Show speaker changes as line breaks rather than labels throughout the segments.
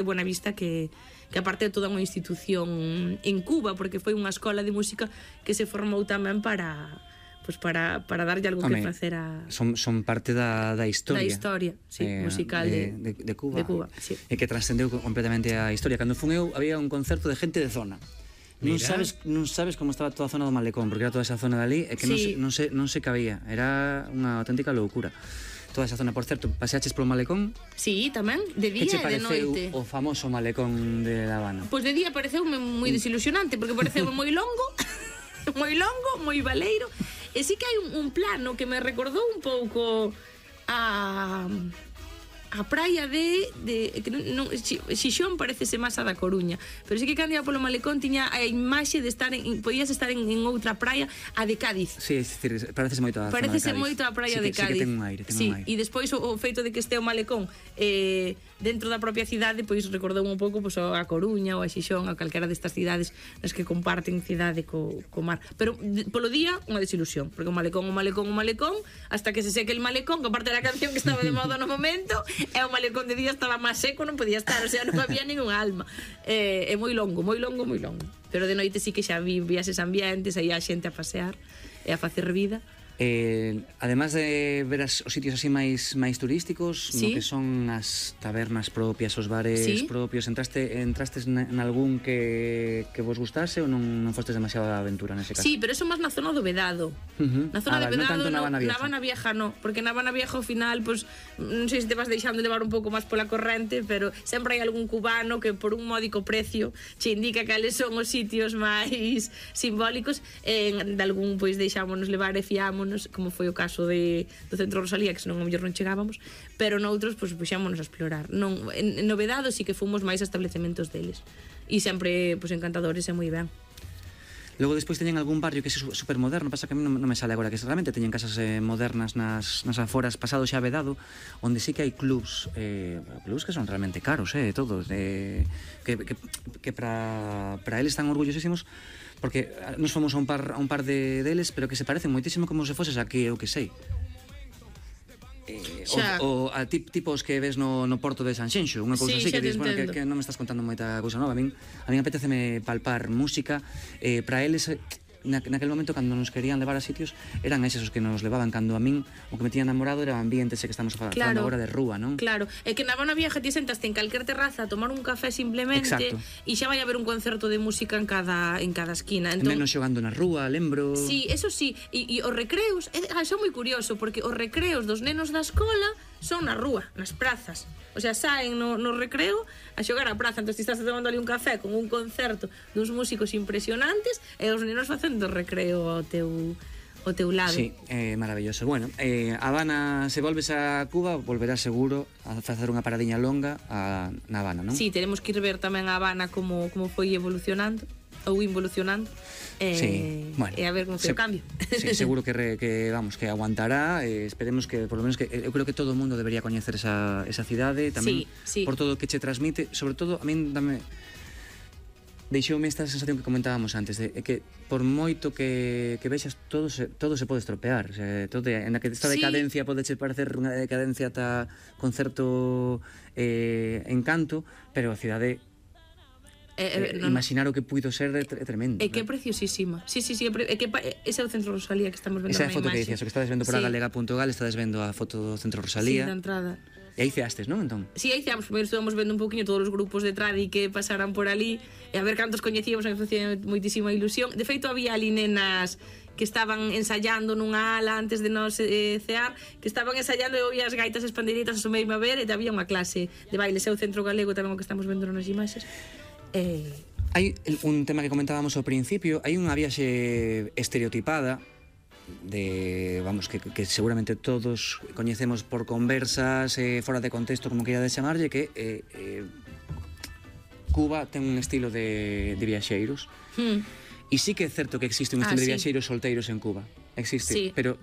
de Buenavista que aparte de toda unha institución en Cuba, porque foi unha escola de música que se formou tamén para darlle algo que facer a...
Son parte da historia.
Da historia, sí, musical
de Cuba.
De Cuba, sí.
E que trascendeu completamente a historia. Cando fun eu, había un concerto de gente de zona. Non sabes como estaba toda a zona do Malecón, porque era toda esa zona de ali, e que non se cabía. Era unha auténtica loucura. Toda esa zona, por certo, paseaches polo Malecón?
Sí, tamén, de día e de noite.
Que che pareceu o famoso Malecón de La Habana?
Pois de día pareceume moi desilusionante, porque pareceume moi longo, moi baleiro, e sí que hai un plano que me recordou un pouco a praia de Xixón parecese máis a da Coruña, pero sí que cando ia polo Malecón tiña a imaxe de estar podías estar en outra praia, a de Cádiz.
Sí, é dicir, parecese moito a zona de Cádiz.
Parecese moito a praia de Cádiz.
Sí que ten un aire,
e despois o feito de que este o Malecón dentro da propia cidade, pois recordou un pouco a Coruña ou a Xixón, a calquera destas cidades nas que comparten cidade co mar. Pero polo día unha desilusión, porque o Malecón, hasta que se seque el Malecón, que aparte da canción que estaba de moda no momento, e o Malecón de día estaba máis seco, non podía estar, o sea, non había ningún alma. É moi longo. Pero de noite sí que xa vías eses ambientes, aí a xente a pasear e a facer vida.
Además de ver os sitios así máis turísticos, no que son as tabernas propias, os bares propios, entrastes nalgún que vos gustase ou non fostes demasiado a aventura nese caso?
Sí, pero eso máis na zona do Vedado. Na zona do Vedado, na Habana Vieja no, porque na Habana Vieja ao final, pues, non sei se te vas deixando levar un pouco máis pola corrente, pero sempre hai algún cubano que por un módico precio che indica cales son os sitios máis simbólicos, de algún, pois, deixámonos levar e fiámonos, como foi o caso do Centro Rosalía, que senón a mellor non chegábamos, pero noutros, pois, puxámonos a explorar. En Novedado sí que fomos máis a establecementos deles, e sempre, pois, encantadores e moi ben.
Logo despois teñen algún barrio que é supermoderno, pasa que a mí non me sale agora, que realmente teñen casas modernas nas aforas, pasado xa Vedado, onde sí que hai clubs que son realmente caros, todos, que para eles están orgullosísimos, porque nos fomos a un par deles, pero que se parecen moitísimo como se foses aquí, eu que sei. O tipos que ves no porto de Sanxenxo, unha cousa así que dices, bueno, que non me estás contando moita cousa nova. A min apeteceme palpar música, para eles naquel momento cando nos querían levar a sitios eran eses os que nos levaban. Cando a min o que me tiña namorado era o ambiente ese que estamos falando agora de rúa, non?
Claro, é que na Habana Vieja ti sentaste en calquer terraza a tomar un café simplemente e xa vai haber un concerto de música en cada esquina.
Menos xogando na rúa, lembro.
Sí, eso sí, e os recreos son moi curioso, porque os recreos dos nenos da escola son na rúa, nas prazas. O sea, saen no recreo a xogar a praza. Entón, ti estás tomando ali un café con un concerto duns músicos impresionantes e os nenos facendo recreo ao teu lado.
Sí, maravilloso. Bueno, Habana, se volves a Cuba, volverás seguro a facer unha paradiña longa na Habana, non?
Sí, teremos que ir ver tamén a Habana como foi evolucionando ou involucionando, bueno, e a ver como foi o cambio.
Sí, seguro que aguantará, esperemos que, por lo menos, que eu creo que todo o mundo debería coñecer esa cidade tamén, por todo o que che transmite. Sobre todo, a min deixoume esta sensación que comentábamos antes, de que por moito que vexas, todo se pode estropear, o sea, esta decadencia pode parecer unha decadencia ata con certo encanto, pero a cidade, imaginar o que puido ser é tremendo.
É que é preciosísima. Sí, é que ese é o Centro Rosalía que estamos vendo na imaxe.
Esa é a foto que dicías, o que estades vendo por galega.gal, estades vendo a foto do Centro Rosalía.
Sí, da entrada.
E aí ceastes, non, entón?
Sí, aí ceamos, primeiro estuvamos vendo un pouquinho todos os grupos de tradi que pasaran por ali, e a ver cantos coñecíamos, que facía moitísima ilusión. De feito, había ali nenas que estaban ensayando nunha ala antes de nos cear, que estaban ensayando e oía as gaitas e as pandeiritas a sumeirme a ver, e había unha clase de baile, o Centro Galego tamén o que estamos vendo nas imaxes.
Hai un tema que comentábamos ao principio, hai unha viaxe estereotipada que seguramente todos coñecemos por conversas fora de contexto, como queira de chamarlle, que Cuba ten un estilo de viaxeiros, e sí que é certo que existe un estilo de viaxeiros solteiros en Cuba, existe, pero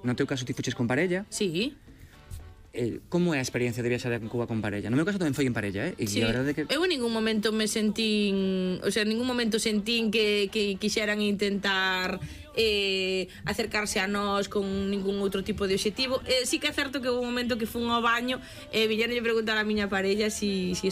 no teu caso ti fuches con parella.
Sí.
Como é a experiencia de viaxar en Cuba con parella? No meu caso tamén foi en parella, e a verdade que...
Eu en ningún momento me sentín, o sea, en ningún momento sentín que quixeran intentar acercarse a nós con ningún outro tipo de obxectivo. Sí que é certo que houve un momento que fun ao baño e viñeronlle preguntar a miña parella si